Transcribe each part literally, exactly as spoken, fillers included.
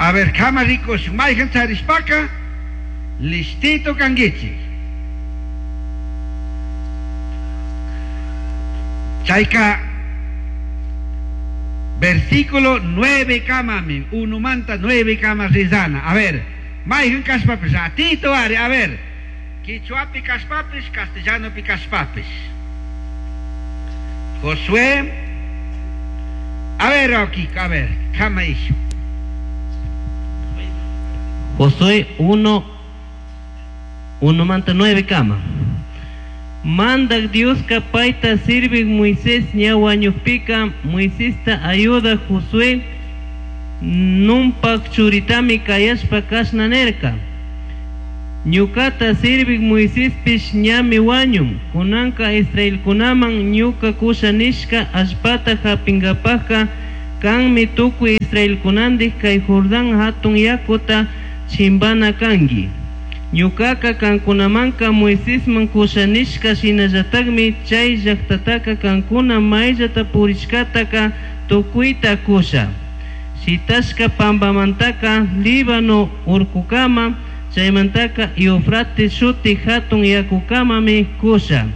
A ver, kama rikushun, mayhan charishpaka, listito kankichik. Chayka, versículo nueve kamami, uno manta nueve kama rizana. A ver, mayhan kashpapis, ratito ari, a ver, quichuapi kashpapis, castellanopi kashpapis. Josué, a ver, Okiko, a ver, kama ishu. Josué uno, uno manta nueve kama. Mandak Dioska payta sirvik Moisés ña wañukpika Moisesta ayuda Josué Nunpak churitami kayashpa kashna nirka. Ñukata sirvik Moisespish ñami wañun. Kunanka Israelkunaman ñuka kusha nishka allpata hapinkapajka kanmi tukuy Israelkunandik kay Jordán hatun yakuta chimpana kanki. Ñukaka kankunamanka Moisesman kusha nishka shinallatakmi chay llaktataka kankuna mayllata purishkataka tukuyta kusha. Shitashka pampamantaka Líbano urkukama, chaymantaka Eufrates shuti hatun yakukamami kusha.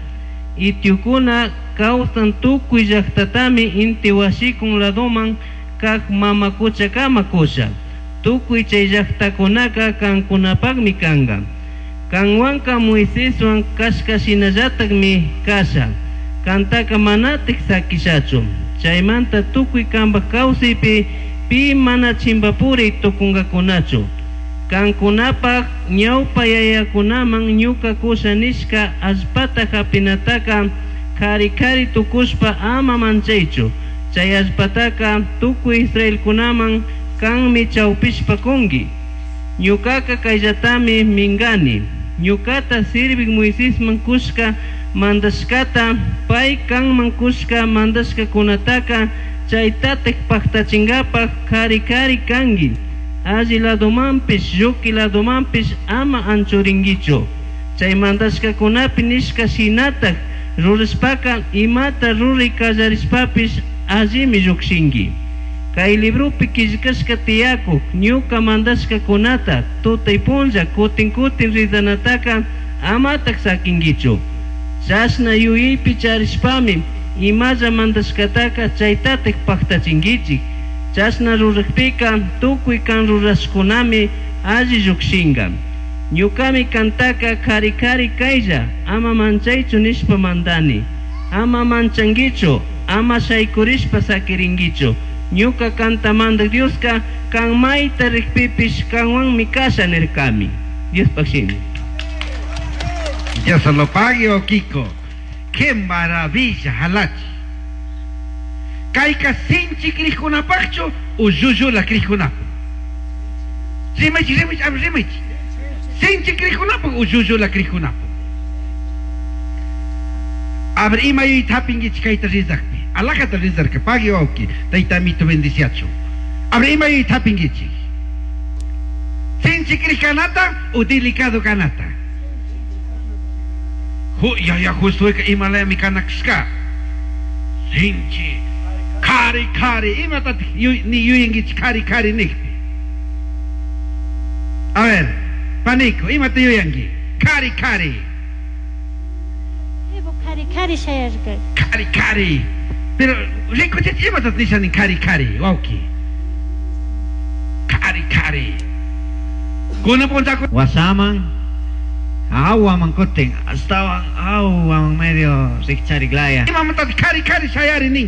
Itiukuna kawsan tukuy llaktatami inti washikun ladoman kak mama kuchakama kusha. Tukuy chay llaktakunaka kankunapakmi kanka. Kanwanka Moiseswan kashka shinallatakmi kasha. Kantaka manatik sakishachu. Chaymanta tukuy kanpak kawsaypi pi mana chimpapuri tukunkakunachu. Kankunapak ñawpa yayakunaman ñuka kusha nishka allpata hapinataka kari kari tukushpa ama manchaychu. Chay allpataka tukuy Israelkunaman kanmi chawpishpa kunki. Ñukaka kayllatami minkani. Ñukata sirvik Moisesman kushka mandashkata pay kanman kushka mandashkakunataka chaytatik paktachinkapak kari kari kanki. Alli ladomanpish lluki ladomanpish ama anchurinkichu. Chay mandashkakunapi nishka shinatak rurashpaka imata ruray kallarishpapish allimi llukshinki. Kay libropi killkashka tiyakuk ñuka mandashkakunata tutay punlla kutin kutin rizanataka amatak sakinkichu. Chashna yuyaypi charishpami imalla mandashkataka chaytatik paktachinkichik. Chashna rurakpika tukuy kan rurashkunami alli llukshinka. Ñukami kantaka kari kari kaylla ama manchaychu nishpa mandani. Ama manchankichu, ama shaykurishpa sakirinkichu. Ñuka kanta mandak Dioska kan mayta rikpipish kanwanmi kasha nirkami. Diospak shimi. Dios se lo pague, oh Kiko. Qué maravilla, halachi. Kayka sinchi krikkunapaqchu o llullula krikkunapaq. Rimaychi, rimaychi, a ver, rimaychi. Sinchi krikkunapaq o llullula krikkunapaq. A ver, ima yuyayta hapinkichik kayta rizakpi. Alajata rizarka, pague wawki, tayta amito bendiciachu. A ver, ima yuyayta hapinkichik. Sinchi krikkanata o delicado kanata. Ju, ya, ya, Josueka imalayami kanakshka. Sinchi, kari, kari, imatatik yu, ni yuyankichik kari, kari nikpi. A ver, panico, imata yuyanki. Kari, kari. Evo kari kari shayarka. Kari, kari. Pero, rikuchich imatat nishanin kari, kari, wawki. Kari, kari. Kunan punchaku. Wasaman, awaman kutin, astawan awaman medio rikchariklaya. Imamantataq kari, kari shayari nin.